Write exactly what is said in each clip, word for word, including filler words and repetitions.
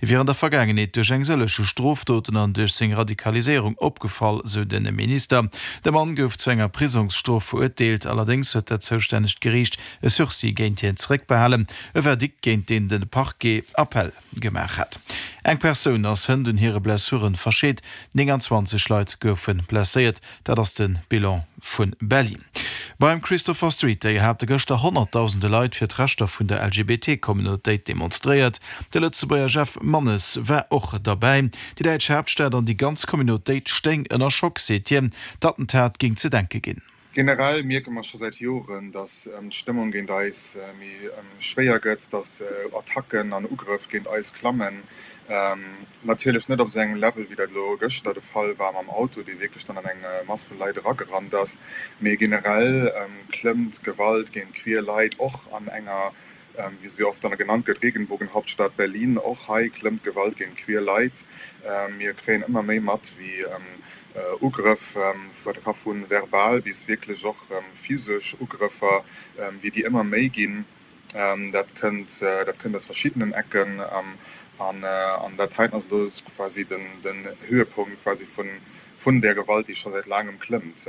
Hie wier an der Vergaangenheet duerch eng sëllege Strofdoten an duerch seng Radikaliséierung opgefall, sou de Minister. De Mann gouf zu enger Prisongsstrof verurteelt, allerdéngs huet dat zoustännegt Geriicht e Sursis géint hien zeréckbehalen, e Verdikt géint deen de Parquet Appell gemaach hat. Eng Persoun ass hënt un hire Blessuren verscheet, nénganzwanzeg Leit goufe blesséiert, dat ass de Bilan vu Berlin. Beim Christopher Street Day hate gëschter honnertdausende Leit fir d'Rechter vun der L G B T-Communautéit demonstréiert. De Lëtzebuerger Jeff Mannes war och derbäi. Déi däitsch Haaptstad an déi ganz Communautéit stéing ënner Schock, seet hien. D'Attentat géing ze denke ginn. Generell mierke mer scho säit Joren, datt d'Stëmmung géint eis méi schwéier gëtt, datt Attacken an Ugrëff géint eis klammen. Natierlech net op esou engem Level, wéi dat elo gëschter de Fall war mam Auto, dee wierklech dann an eng Mass vu Leit eragerannt ass. Mee generell klëmmt d'Gewalt géint queer Leit och an enger, wéi se oft dann genannt gëtt, Regenbogenhauptstadt Berlin. Och hei klëmmt d'Gewalt géint queer Leit. Mir kréien ëmmer méi mat, wéi Ugrëff, dat ka vu verbal bis wierklech och physesch Ugrëffer, wéi déi ëmmer méi ginn. Dat kënnt dat kënnt aus verschiddenen Ecken an an dat heiten ass elo quasi den den Höhepunkt quasi vun vun där Gewalt, déi scho säit laangem klëmmt.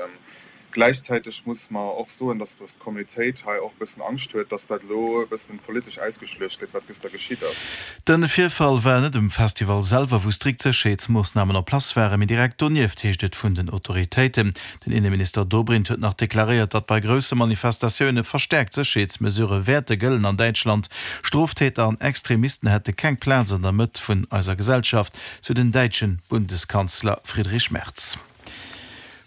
Gläichzäiteg muss mer och soen, dass dass d'Communautéit hei och e bëssen Angscht huet, dass dat elo e bëssen politesch ausgeschluecht gëtt, wat gëschter geschitt ass. De Virfall war net um Festival selwer, wou strikt Sécherheetsmoossnamen en place waren, mee direkt donieft, heescht et vun den Autoritéiten. Den Inneminister Dobrindt huet nach deklaréiert, datt bei grousse Manifestatioune verstäerkt Sécherheetsmesurë wäerte gëllen an Däitschland. Stroftäter an Extremisten hätte keng Plaz an der Mëtt vun eiser Gesellschaft, sou den däitsche Bundeskanzler Friedrich Merz.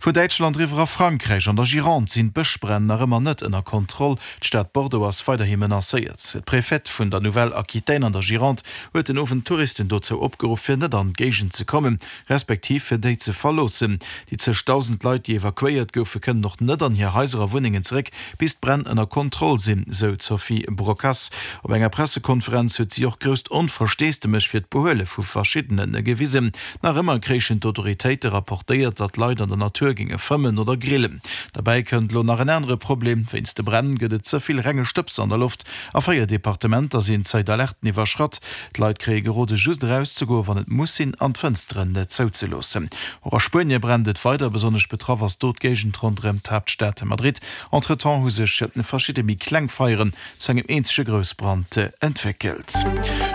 Vun Däitschland eriwwer a Frankräich, An der Gironde sinn d'Bëschbränn nach ëmmer net ënner Kontroll. D'Stad Bordeaux ass weiderhi menacéiert. D'Prefet vun der Nouvelle-Aquitaine an der Gironde huet den Owend d'Touristen dozou opgeruff, fir net an d'Géigend ze kommen, respektiv fir déi ze verloossen. Déi zeg dausend Leit, déi evakuéiert goufen, kënnen och net an hir Haiser a Wunnengen zeréck, bis d'Bränn ënner Kontroll sinn, sou d'Sophie Brocas. Op enger Pressekonferenz huet si och grousst Onversteesdemech fir d'Behuele vu verschiddene gewisen. Nach ëmmer kréichen d'Autoritéite rapportéiert, datt Leit an der Natur géinge fëmmen oder grillen. Derbäi kënnt elo nach en anere Problem, Wéinst de Bränn gëtt et ze vill renge Stëbs an der Loft. A véier Departementer sinn d'Zäitalerten iwwerschratt. D'Leit kréie gerode just erauszegoen, wann et muss sinn, an d'Fënsteren zouzeloossen. Och a Spuenie brennt et weider, besonnesch betraff ass do d'Géigend ronderëm d'Haaptstad Madrid. Entretemps hu sech verschidde méi kleng Feieren zu engem eenzege Groussbrand entwéckelt.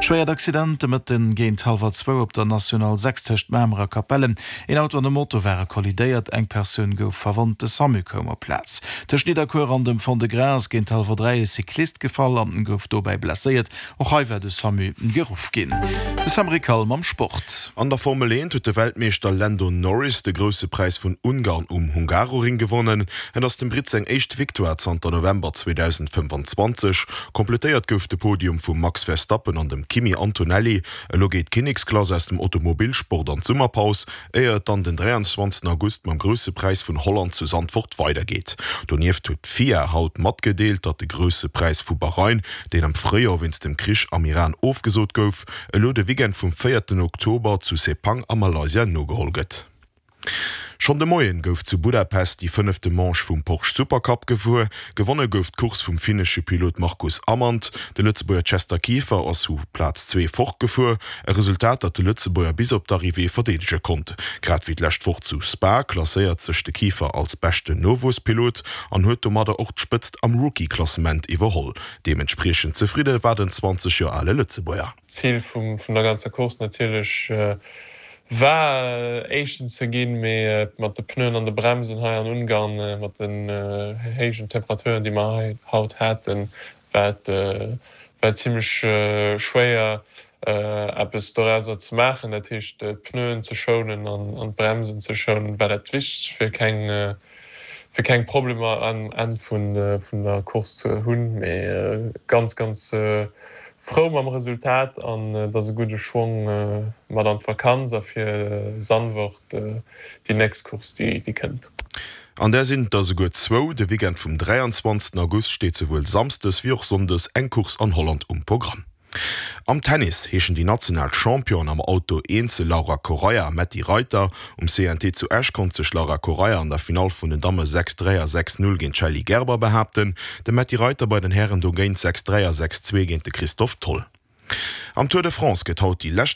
Schwéiert Accident de Mëtten géint hallwer zwou op der National sechs tëscht Mamer a Capellen. Een Auto an e Moto ware kollidéiert, eng Persoun gouf verwonnt, de Samu koum op d'Plaz. Tëscht Nidderkuer an dem Fond-de-Gras ass géint hallwer dräi e Cyclist gefall an gouf dobäi blesséiert. Och hei war de Samu geruff ginn. De Sam Rickal mam Sport. An der Formel eent huet de Weltmeeschter Lando Norris de Grousse Präis vun Ungarn um Hungaroring gewonnen. Et ass dem Britt seng éischt Victoire zanter November zweedausendfënfanzwanzeg. Kompletéiert gouf de Podium vum Max Verstappen an dem Kimi Antonelli. Elo geet d'Kinneksklass aus dem Automobilsport an d'Summerpaus, éier et dann den dräianzwanzegsten August mam Grousse Präis vun Holland zu Zandvoort weidergeet. Donieft huet d'FIA haut matgedeelt, datt de Grousse Präis vu Bahrain, deen am Fréijoer wéinst dem Krich am Iran ofgesot gouf, elo de Weekend vum véierten Oktober zu Sepang a Malaysia nogeholl gëtt. Schonn de Moien gouf zu Budapest déi fënnefte Manche vum Porsche Supercup gefuer. Gewonne gouf d'Course vum finnesche Pilot Marcus Amand. De Lëtzebuerger Chester Kieffer ass vu Plaz zwee fortgefuer, e Resultat, dat de Lëtzebuerger bis op d'Arrivée verdeedege konnt. Grad wéi d'lescht Woch zu Spa klasséiert sech de Kieffer als beschten Nowuesspilot an huet domadder och d'Spëtzt am Rookie-Klassement iwwerholl. Deementspriechend zefridde war den zwanzeg Joer ale Lëtzebuerger. D'Zil vum vun der ganzer Course natierlech war Éischten ze ginn, mee mat de Pneuen an de Bremsen hei an Ungarn, mat den héijen Temperaturen, déi mer hei haut haten, war et war et zimmlech schwéier eppes dorauser ze maachen. Dat heescht d'Pneuen ze schounen an d'Bremsen ze schounen, war dat Wichtegst fir keng fir keng Problemer am Enn vun vun der Course ze hunn. Mee ganz ganz frou mam Resultat an et ass e gudde Schwong mat an d'Vakanz a fir Zandvoort déi nächst Course déi déi kënnt. An där sinn et der esouguer zwou, De Weekend vum dräianzwanzegsten August steet souwuel samsdes wéi och sonndes eng Course an Holland um Programm. Am Tennis heeschen déi national Championen am Auto Eenzel Laura Correia a Metty Reiter. Um C N T zu Esch konnt sech Laura Correia an der Finall vun den Damme sechs dräi a sechs null géint d'Shelly Gerber behaapten, de Metty Reiter bei den Hären dogéint sechs dräi a sechs zwee géint de Christophe Tholl. Am Tour de France gëtt haut déi lescht.